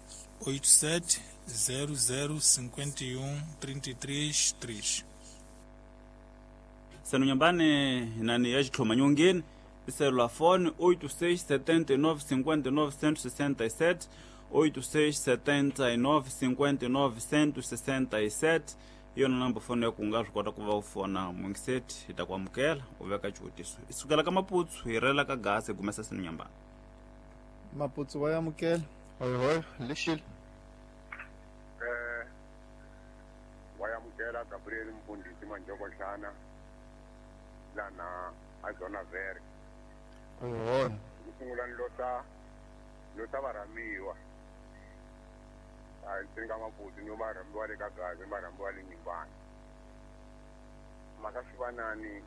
oito sete zero zero cinquenta e um trinta e três três Senu Nyambani nani ya xitlhoma nyongeni celular phone oito seis sete nove cinco nove cento e sessenta e sete oito seis sete nove cinco nove cento e sessenta e sete hi yona number phone ya ku nga swi kota ku va u fona muyingiseti hi ta ku amukela u veka xivutiso hi sukela ka Maputo hi rela ka Gaza hi gumesa Senu Nyambani Maputo wa amukela hoyo lexile eh wa amukela Gabriel Mfundisi Manjoko Hlana lana a Zona Verde hoyo ku sungula ni lota lota varhamiwa a ndzi nga Maputo ni varhamiwa le ka Gaza ni varhamiwa le Nyambani mhaka swivanani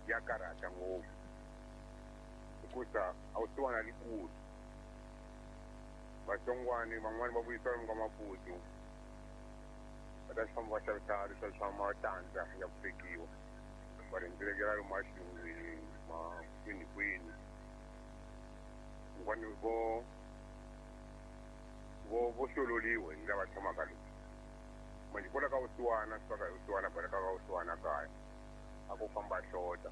ya karhata ngopfu hikusa a wu siwana likulu vatsongwani van'wani va vuyisiwa lomu ka Maputo va ta famba va xavisa leswa swa matandza ya ku swekiwa va rhendzelekela lomu maxilungwini ma kwini kwini un'wani vo vo vo hlololiwe hi lava tshamaka lomu manje kwala ka vusiwana swi ka hi vusiwana baleka ka vusiwana kaya a ku famba hlota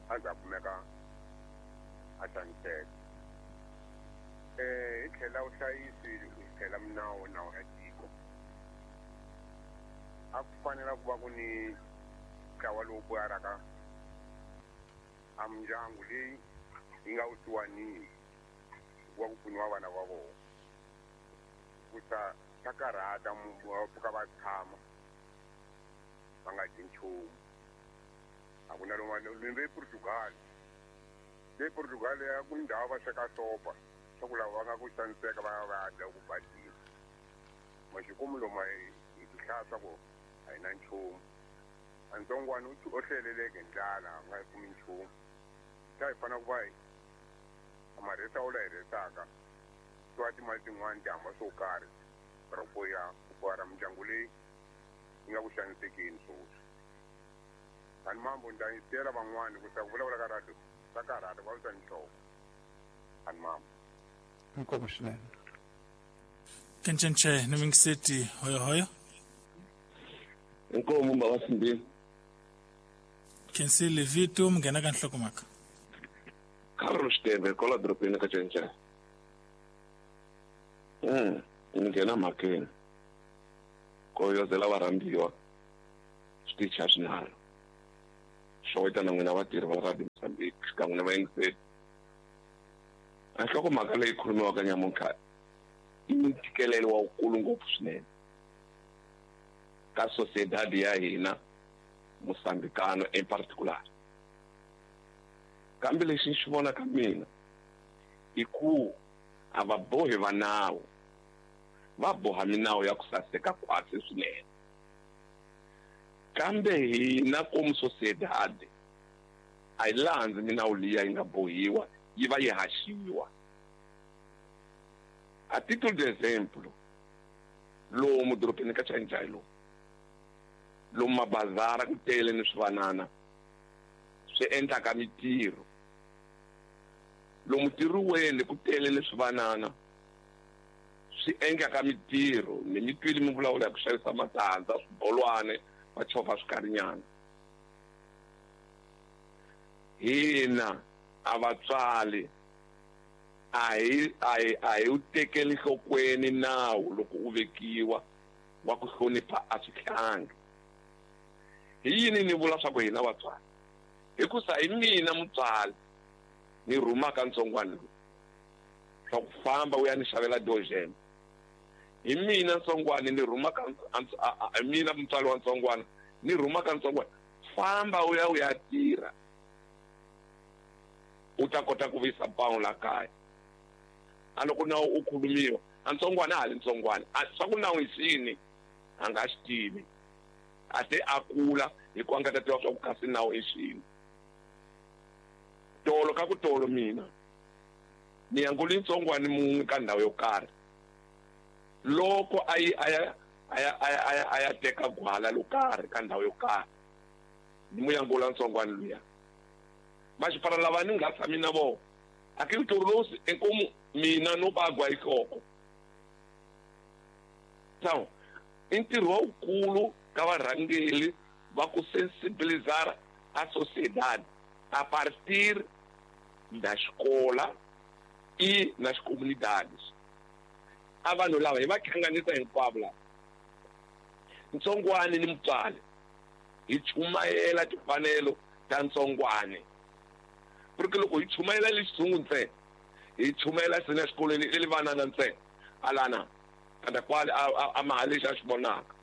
a ndza kumeka a xaniseka eh hi tlhela vuhlayisi hi tlhela minawu nawu ya tiko a ku fanela ku va ku ni ntlawa lowu boyaraka a mindyangu leyi yi nga vusiwanini ku va ku pfuniwa vana va vona kusa swa karhata va pfuka va tshama va nga dyi nchumu a ku na lomu le Portugal le Portugal ya ku ndhawu va sweka sopa swa ku lava va nga ku xaniseka va ya va ya dya ku badile maxikomu lomu hi ti hlaya swa ku a hi na nchumu a ntsongwana u hleleleke ndlala a nga yi kumi nchumu xa hi fanele ku va hi marhesa wu la hi rhesaka swa timali tin'wani ti hamba swo karhi ra ku ya ku bohara mindyangu leyi yi nga ku xanisekeni swoswi kani mambo ni ta yisela van'wani ku sa ku vulavula ka radio swa karhata va visa nhloko kani mambo inkomu swinene Kencenche ni mingiseti hoyo hoyo inkomu baba Simbini Kensile Vito munghena ka nhlokomhaka Carlos Teve kwala dorobeni ka Cenchene Mm, ni nghena mhakeni. Koyozela varhambiwa switichi a swinharhu. Xoweta na n'wina vatirhi va Radio Mozambique xikan'we na vayingiseri. A nhlokomhaka leyi khulumiwaka nyamuntlha i ntikelelo wa wukulu ngopfu swinene ka sociedad ya hina Mozambicano in particular. Kambe lexi ni xi vonaka mina i ku a va bohi va nawu, va boha minawu ya ku saseka khwatsi swinene. Kambe hina komu sociedad a yi landzi minawu liya yi nga bohiwa, yi va yi haxiwa. A título de exemplo, lomu dorobeni ka Chainchayi lomu, lomu mabazara ku tele ni swivanana swi endlaka mitirho, lomu tirhiweni ku tele ni swivanana swi endlaka mitirho. Ni mi twile mi vulavula hi ku xavisa matandza, swibolwane, va chovha swikarinyana. Hina a vatswari a hi a hi a hi wu tekeli nhlokweni nawu loko u vekiwa wa ku hlonipha a swihlangi. Hi yini ni vula swa ku hina vatswari? Hikusa hi mina mutswari ni rhumaka ntsongwana lowu swa ku famba u ya ni xavela dojen. Hi mina ntsongwana ni rhumaka, hi mina mutswari wa ntsongwana ni rhumaka ntsongwana, famba u ya u ya tirha u ta kota ku vuyisa pawulo la kaya. A loko nawu u khulumiwa a ntsongwana a ha li ntsongwana, swa ku nawu hi xini a nga xi tivi, a te a kula hi ku a nga ta tiva swa ku kasi nawu i xini. Tolo ka ku tolo mina ni yanguli ntsongwana mun'we ka ndhawu yo karhi, loko a yi a ya a ya a ya a ya teka gwala lo karhi ka ndhawu yo karhi, ni mu yangula ntsongwana luya. Maxipara lava ni nga tshami na vona a ke ntorolosi inkomu mina no bagwa ihloko. So i ntirho wukulu ka varhangeli va ku sensibilizar a sociedad a partir da escola e nas comunidades. A vanhu lava hi va hlanganisa hinkwavo lava, ntsongwane ni mutswari, hi chumayela timfanelo ta ntsongwane. Porque loko hi chumayela le xitshungu ntsena, hi chumayela sina exikolweni le vanana ntsena, alana kanda kwale a maha lexi a xi vonaka.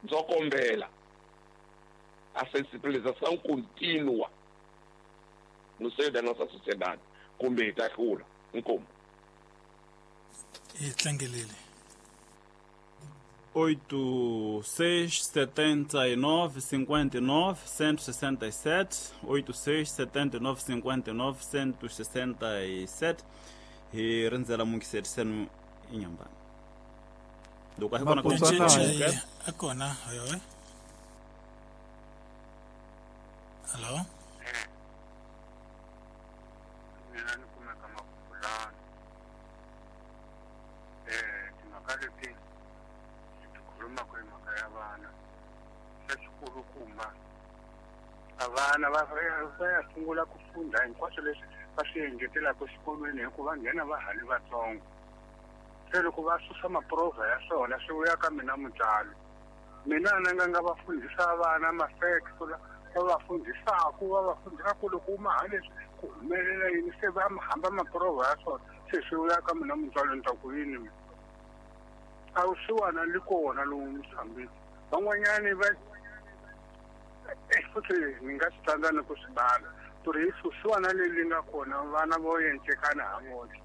Ndzo kombela a sensibilização contínua no seio da nossa sociedade, kumbe hi ta hlula. Inkomu. Hi tlangelele. oito seis setenta e nove cinquenta e nove cento e sessenta e sete, oito seis setenta e nove cinquenta e nove cento e sessenta e sete. Hi rindzela mungiserisenu inyambani. Loko a hi kona ku a kona hoyo. Hello. Mina ni kumeka Makulani. Eh, timhaka leti ti khulumaka hi mhaka ya vana, xa xikulukumba a vana va va ya sungula ku funda hinkwaswo leswi va swi engetelaka exikolweni hikuva nghena va ha li vatsongo. Se loko va susa maprovha ya swona swi vuya ka mina mutswari, mina ni nga nga va fundhisa vana ma-facts va va fundhisaku va va fundhisa ku loko u maha leswi ku humelela yini, se va hamba maprovha ya swona se swi vuya ka mina mutswari ni ta ku yini mina. A wusiwana li kona lowu Mozambique van'wanyani va futhi ni nga swi tsandza ni ku swi bala ku ri vusiwana leri nga kona vana vo encekana ha voxe.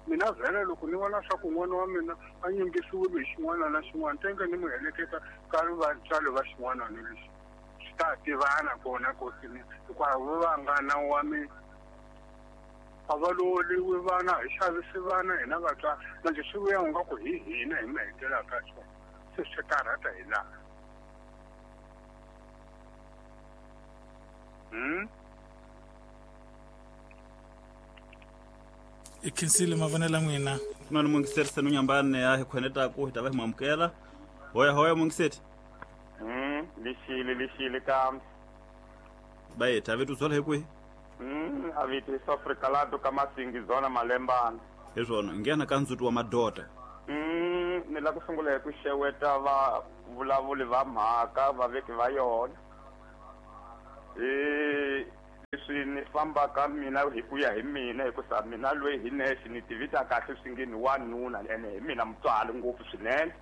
Mina vhele loko ni vona swa ku n'wana wa mina a nyimbisiwile hi xin'wana na xin'wana, tenge ni mu heleketa ka vatswari va xin'wana ni lexi swi ta tivana kona kosini, hikuva vo va nga nawu wa mina a va loliwi vana, hi xavisi vana hina vatswari. Manje swi vuya nga ku hi hina hi mi hetelaka swona, se swi karhata hi laha. Hmm? I khensile mavonelo n'wina. Ku na ni mungiserisenu nyambani ya hi khwenetaku hi ta va hi mu amukela. Hoya hoya mungiseti. Mm, lixile lixile kambe. Va hi ta vetu byala hi kwihi? Mm, a vito hi Afrika lato ka Masingi zona Malembana. Hi swona nghena ka ndzhuti wa madoda. Mm ni la ku sungula hi ku xeweta va vulavuli va mhaka vaveki va yona. Eh leswi ni fambaka mina hi ku ya hi mina hikusa mina loyi hi nexe ni tivita kahle swi nge ni wanuna ene hi mina mutswari ngopfu swinene.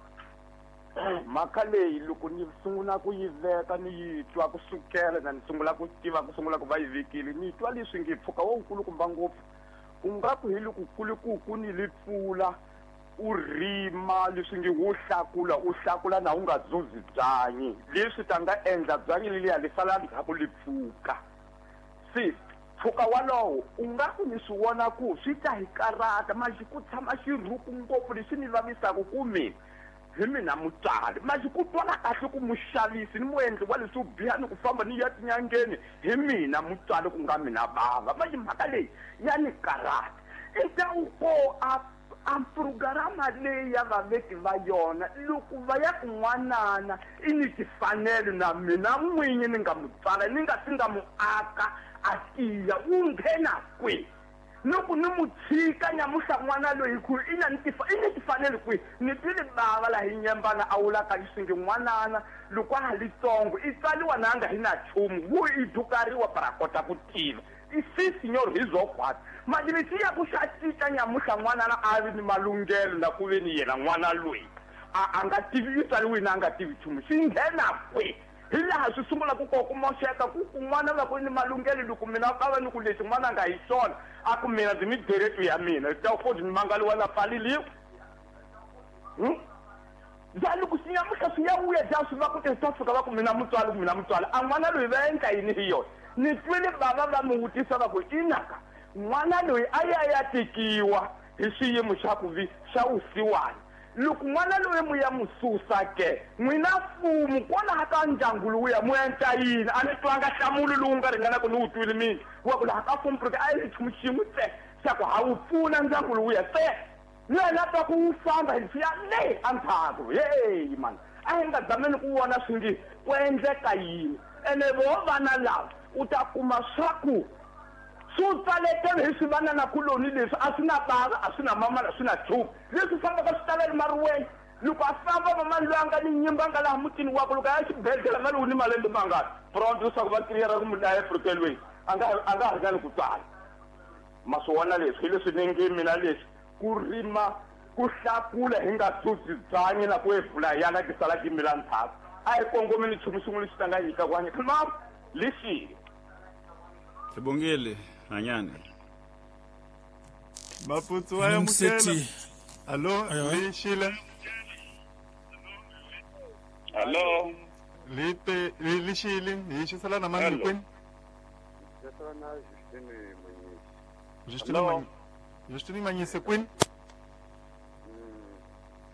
Mhaka leyi loko ni sungula ku yi veka ni yi twa kusukela na ni sungula ku tiva ku sungula ku va yi vekile ni twa leswi nge pfuka wo nkulukumba ngopfu u nga ku hi loko kulukuku ni li pfula u rima leswi nge wo hlakula u hlakula na u nga zuzi byanyi leswi ta nga endla byanyi leliya li sala ndzhaku li pfuka. Se pfuka walowo u nga ku ni swi vona ku swi ta hi karata manje ku tshama xirhuku ngopfu leswi ni vavisaka ku mina hi mina mutswari manje ku twala kahle ku muxavisi ni muendli wa leswo biha ni ku famba ni ya tinyangeni hi mina mutswari ku nga mina bava manje mhaka leyi ya ni karata i ta u ko a a programa leyi ya vaveki va yona loko va ya kun'wanana i ni tifanelo na mina n'winyi ni nga mutswala ni nga si nga mu aka a tiya wu nghena kwihi loko ni mu tshika nyamuhla n'wana loyi ku i na ni tifa i ni tifanelo kwihi ni twile bava laha hi nyembana a wulaka leswi nge n'wanana loko a ha litsongo i tswariwa na nga hi na nchumu wu i dukariwa para kota ku tiva i si signor hi zokwata manje lexi ya ku xa cinca nyamuhla n'wanana a vi ni malunghelo na ku ve ni yena n'wana loyi a a nga tivi i tswariwini a nga tivi nchumu xi nghena kwihi hi laha swi sungula ku ko ku moxeka ku kun'wana va ku ni malunghelo loko mina ka va ni ku lexi n'wana nga hi xona a ku mina ndzi mi deretu ya mina ta ku ni mangaliwa na pfaleliwa ja loko swi nyamuhla swi ya vuya ja swi va ku te swi ta fika va ku mina mutswari ku mina mutswari a n'wana loyi va endla yini hi yona ni twile bava va mi vutisa va ku inaka n'wana loyi a ya ya tekiwa hi xiyimo xa ku vi xa vusiwana loko n'wana loyi mu ya mu susa ke n'wina mfumo kwalaha ka ndyangu lowuya mu endla yini a ni twanga nhlamulo lowu nga ringanaka ni wu twile mina wa ku laha ka mfumo porque a yi nchumu xin'we tse xa ku ha wu pfuna ndyangu lowuya tse yena twa ku wu famba hi swiya le endzhaku heyi mani a hi nga zameni ku vona swi nge ku endleka yini ene vo vana lava u ta kuma swa ku swi tsaletele hi swivananakuloni leswi a swi na bava a swi na mama a swi na nchumu leswi fambaka swi talele mariweni loko a famba mamani loyi a nga ni nyimba nga laha mutini wakwe loko a ya xibedhlele va lowu ni malembe mangani pronto leswaku va tirhela ku mu dlaya efrikelweni a nga a nga ha ringani ku tswala ma swi vona leswi hi leswi ni nge mina leswi ku rima ku hlakula hi nga susi byanyi na ku evula yana ti sala ti mila ndzhaku a hi kongomeni nchumu xin'we lexi ta nga nyika ku hanya ma lexi Sibongile hanyane Maputsu wa amukela. Allo lexile. Allo lipe lexile hi xisela na mani kwini? Xisela na Justine Manyisi. Justine Manyisi. Justine Manyisi kwini?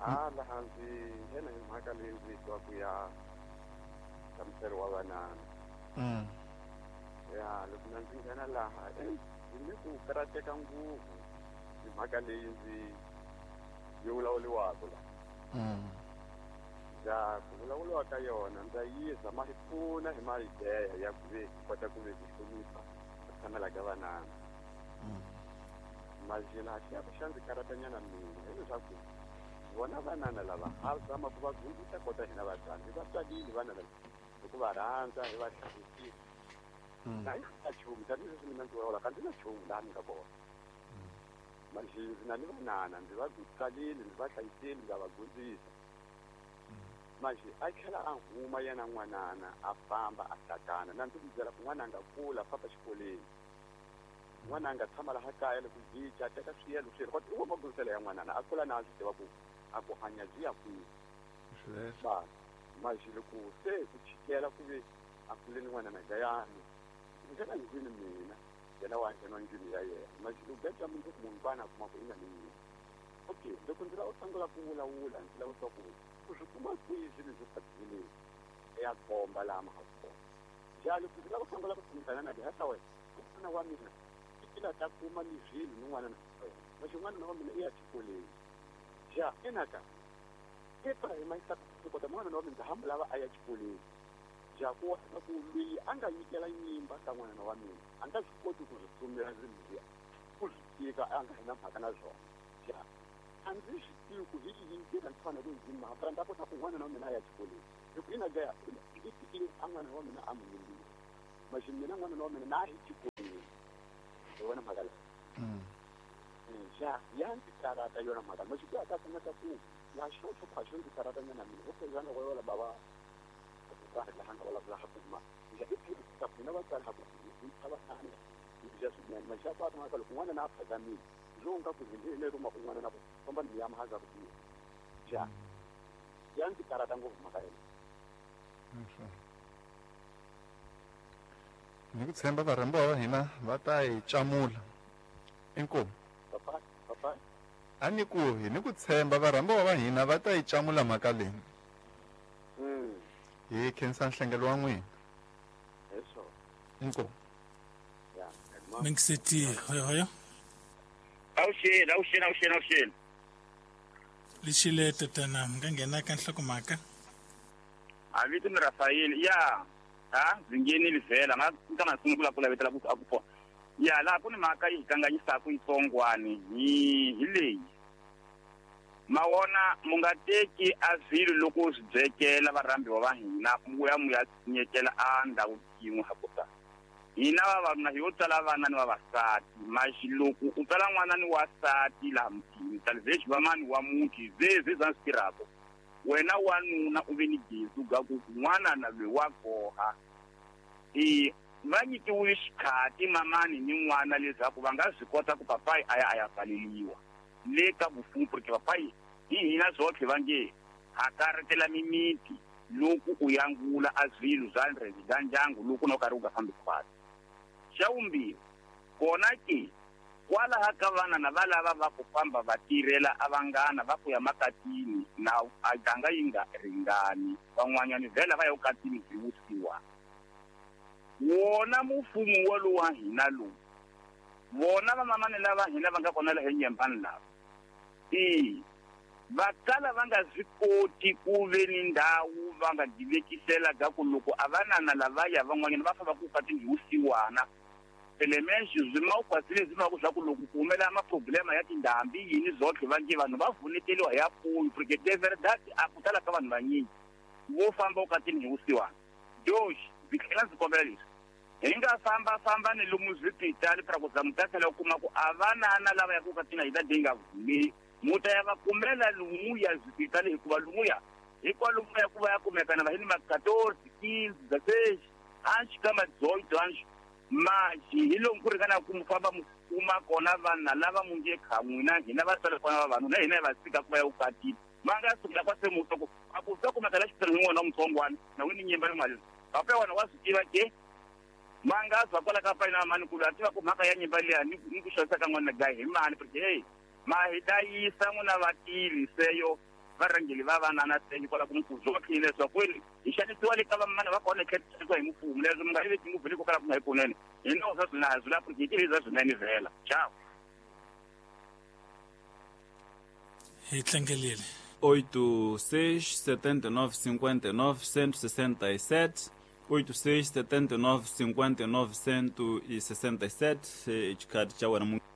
Ah laha ndzi yena hi mhaka leyi ndzi twa ku ya hlamuselo wa vanana. Mm. Ya loko na ndzi nghena laha ndzi ni ku karateka ngopfu hi mhaka leyi ndzi yi vulavuriwaka laha. Mm. Ja ku vulavuriwa ka yona ndza yi zama hi pfuna hi maideya ya ku ve kota ku ve ku hlonipha ku tshamela ka vanana. Mm. Majela xi ya ku xa ndzi karatanyana mina hileswaku vona vanana lava ha zama ku va dyondzisa kota hina vatswari hi va tswalile vana lava hi ku va rhandza hi va hlayisisa. Na hi na nchumu tanihileswi mina ndzi vulavulaka ndzi na nchumu laha ni nga kona manje ndzi na ni vanana ndzi va tswalile ndzi va hlayisile ndza va dyondzisa manje a tlhela a huma yena n'wanana a famba a hlakana na ndzi ku byela ku n'wana a nga kula famba xikolweni n'wana a nga tshama laha kaya loko jica a teka swiyelo swiyelo kodwa i wo magondziselo ya n'wanana a kula na a swi tiva ku a ku hanya byi ya kwihi ba manje loko se ku chikela ku ve a kuleni n'wanana gayani nghena ndlwini mina yena wa nghena ndlwini ya yena manje loko beja mundzuku munhu vana a kuma ku i na ni yini okay loko ndzi lava u sungula ku vulavula ndzi lava swa ku u swi kuma kwihi swilo leswi fatileni ya komba laha ma ha kona ja loko ndzi lava ku sungula ku tshamisana na dihasa wena n'wana wa mina i la ta kuma ni swilo ni n'wana na wena manje n'wana wa mina i ya xikolweni ja enaka kepha hi mayisa kota n'wana wa mina hambi lava a ya xikolweni ja ku ku loyi a nga nyikela nyimba ka n'wana wa mina a nga swi koti ku swi tsumela swilo leswiya ku swi tika a nga hi na mhaka na swona Ja a ndzi swi tivi ku hi yihi ndlela ndzi fanele ndzi maka ndzi ta kota ku n'wana wa mina a ya xikolweni hi ku ina gaya ndzi tikile a n'wana wa mina a n'wi yimbile maxi mina n'wana wa mina na hi xikolweni hi vona mhaka leyi ja ya ndzi karata yona mhaka maxi ku ya ta kumeka ku ya xo xo khwaxo ndzi karata nyana mina okay yana go yola baba ku karhi laha nga vulavula ha kuma ja i ta mina vatswari ha ku hi tshava tani ja swinene maxi ya kwata mhaka loko n'wana na a phazamile zonga ku zindile ruma kun'wana na ku famba ni ya mahaza ku tiya ja ya ndzi karata ngopfu mhaka yena ni ku tshemba varhambiwa va hina va ta hi camula inkomu papa papa a ni ku hi ni ku tshemba varhambiwa va hina va ta hi camula mhaka leyi mm hi khensa nhlengelo wa n'wina eso inkomu ya mingiseti hoyo hoyo awuxeni awuxeni awuxeni awuxeni lexile tatana mi nga nghena ka nhlokomhaka a vito ni Rafael ya ha ndzi nghenile vhela nga nga na sungula ku lavetela ku a ku pona ya laha ku ni mhaka yi hi kanganyisaka yitsongwani hi hi leyi mawona mu nga teki a swilo loko swi byekela varhambiwa va hina mu ya mu ya nyekela a ndhawu yin'we ha kota hina vavanuna hi yo tswala vana ni vavasati maxi loko u tswala n'wana ni wasati laha mutini talivexi va mani wa muti ze ze za swi tirhaka wena wanuna u ve ni gezi ga ku n'wana na loyi wa goha e va nyikiwile xikhati mamani ni n'wana leswaku va nga swi kota ku papayi a ya a ya pfaleliwa le ka vufumu porque papayi hi hina zwotlhe va nge ha karatela mimiti loko u yangula a swilo swa bya ndyangu loko na u karhi u nga fambi khwatsi xa vumbirhi kona ke kwalaha ka vana na va lava va ku famba va tirhela a vanghana va ku ya makatini na a ganga yi nga ringani van'wanyani vhela va ya ukatini byi wusiwa wona mufumo walowu wa hina lowu vona vamamani lava hina va nga kona laha enyembani lava e va kala va nga swi koti ku ve ni ndhawu va nga divekisela ka ku loko a vanana lavaya van'wanyana va famba ku ukatini hi wusiwana elements swi ma ukwasile swi ma ku swa ku loko ku humelela maproblema ya tindhambi yini zotlhe va nge vanhu va vuneteliwa ya pfuyi porque de verdad a ku tala ka vanhu vanyingi vo famba ukatini hi wusiwana dox ndzi tlhela ndzi kombela leswi hi nga famba famba ni lomu swipitali pra ku za mu ta tlhela u kuma ku a vanana lava ya ku ukatini hi ta dinga vumeli mu ta ya va kumela lumuya swipitali hikuva lumuya hikwalomuya ku va ya kumekana va hi ni ma quatorze quinze dezesseis hansi ka ma dezoito hansi maxi hi lomu ku ringana ku mu famba mu kuma kona vanhu lava mu nge kha n'wina hina va tswala kona vavanuna hina hi va tshika ku va ya ukatini va nga sukela kwa se muto ku a ku ta kumeka la xipitali hi n'wana wa mutsongwana na n'wini nyimba ni mali papa wena wa swi tiva ke ma nga zwa kwala ka payina mani ku a tiva ku mhaka ya nyimba liya ni ni ku xavisa ka n'wana gayi hi mani porque hey ma hi ta yisa n'wina vatirhi seyo varhangeli va vanana seyo kwala ku mukuzwa leswaku hi xanisiwa le ka vamana va kona tlhela hi mfumo leswi mi nga yi veki ngopfu le ko kala ku nga hi kunene hi nawu swa swina hi swi porque hi tivisa swinene vhela ciao hi tlangelile oito seis setenta e nove cinquenta e nove cento e sessenta e sete oito seis setenta e nove cinquenta e nove cento e sessenta e sete xikhati xa wena.